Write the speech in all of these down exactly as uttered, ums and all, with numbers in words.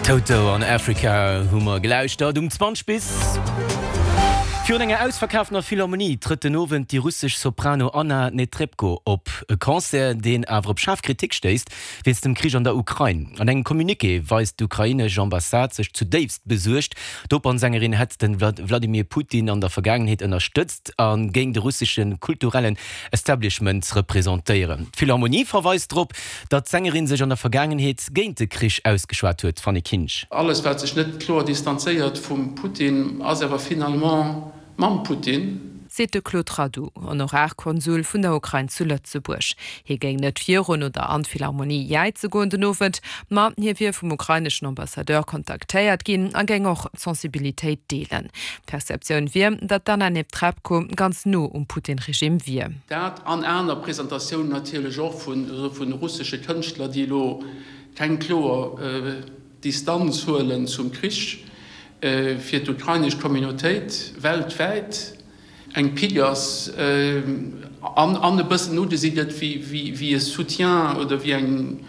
Toto an Africa hu mer gelauschtert um zwanzeg bis. Virun enger ausverkaafter Philharmonie trëtt den Owend déi russesch Soprano Anna Netrebko op. E Concert, deen awer op schaarf Kritik stéisst, wéinst dem Krich an der Ukrain. An engem Communiqué weist d'ukrainesch Ambassade sech zudéifst besuergt. D'Opernsängerin hätt de Wladimir Putin an der Vergaangenheet ënnerstëtzt a géing de russesche kulturellen Establishment representéieren. D'Philharmonie verweist drop, datt d'Sängerin sech an der Vergaangenheet géint de Krich ausgeschwat huet. Fanny Kinsch. Alles wat sech net kloer distanzéiert vum Putin, ass awer finalement mam Putin. Seet de Claude Radu, Honorarkonsul vun der Ukrain zu Lëtzebuerg. Hie géing net virun oder an d'Philharmonie jäize goen den Owend, ma hie wier vum ukraineschen Ambassadeur kontaktéiert ginn a géing och d'Sensibilitéit deelen. D'Perceptioun wier, datt d'Anna Netrebko ganz no um Putin-Regime wier. Dat an aner Presentatiounen natierlech och vu russesche Kënschtler, déi elo keng kloer Distanz huelen zum Krich, fir d'ukrainesch Communautéit weltwäit eng Pick ass an e bëssen ugesi gëtt wéi e Soutien oder wéi eng,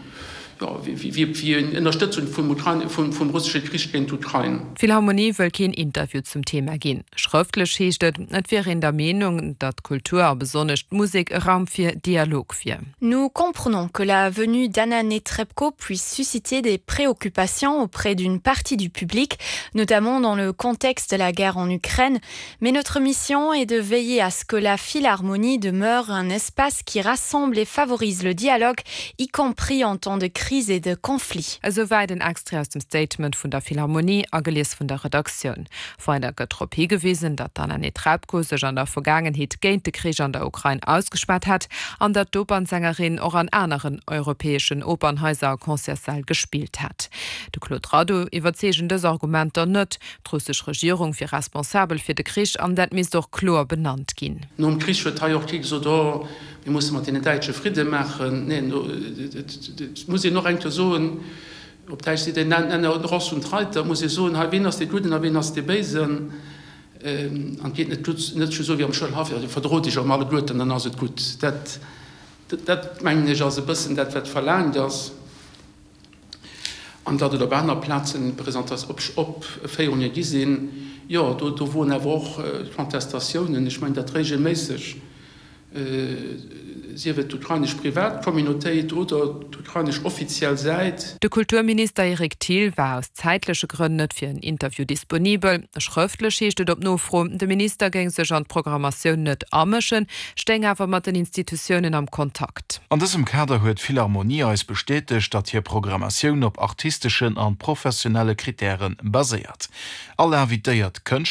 jo, wéi eng Ënnerstëtzung vum russesche Krich géint d'Ukrain. D'Philharmonie wëll keen Interview zum Thema ginn. Schrëftlech heescht et, et wier een der Meenung, datt d'Kultur a besonnesch d'Musek e Raum fir Dialog wier. Nous comprenons que la venue d'Anna Netrebko puisse susciter des préoccupations auprès d'une partie du public, notamment dans le contexte de la guerre en Ukraine, mais notre mission est de veiller à ce que la Philharmonie demeure un espace qui rassemble et favorise le dialogue, y compris en temps de crise et de conflit. Esouwäit en Extrait aus dem Statement vun der Philharmonie, agelies vun der Redaktioun. Weider gëtt drop higewisen, datt d'Anna Netrebko sech an der Vergaangenheet géint de Krich an der Ukrain ausgeschwat hätt an datt d'Opernsängerin och an aneren europäeschen Opernhaiser a Concertssäll gespillt hätt. De Claude Radu iwwerzeegen dës Argumenter net. D'russesch Regierung wier responsabel fir de Krich an dat misst och kloer benannt ginn. Nom Krich huet hei och kee gesot, oh, mir musse mat deenen Däitsche Fridde maachen. Neen, et muss een och eng Kéier soen, op Däitsch seet een, Nenner Ross und Reiter, et muss ee soen, hei, wien ass dee Gudden a wien ass dee Béisen? An et geet net net just esou wéi am Schoulhaff, jo, verdrot iech erëm alleguerten, dann ass et gutt. Dat, dat mengen ech, ass e bëssen dat, wat verlaangt ass. An datt et op aner Plazen Opféierunge gi sinn, jo, do, do woren awer och Contestatiounen, ech mengen dat regelméisseg, sief et d'ukrainesch privat Communautéit oder d'ukrainesch offiziell Säit. De Kulturminister Eric Thill war aus zäitleche Grënn net fir en Interview disponibel. Schrëftlech heescht et op Nofro, de Minister géing sech an d'Programmatioun net amëschen, stéing awer mat den Institutiounen am Kontakt. An dësem Kader huet d'Philharmonie eis bestätegt, datt hir Programmatioun op artisteschen an professionelle Krittäre baséiert. All invitéiert Kënschtler,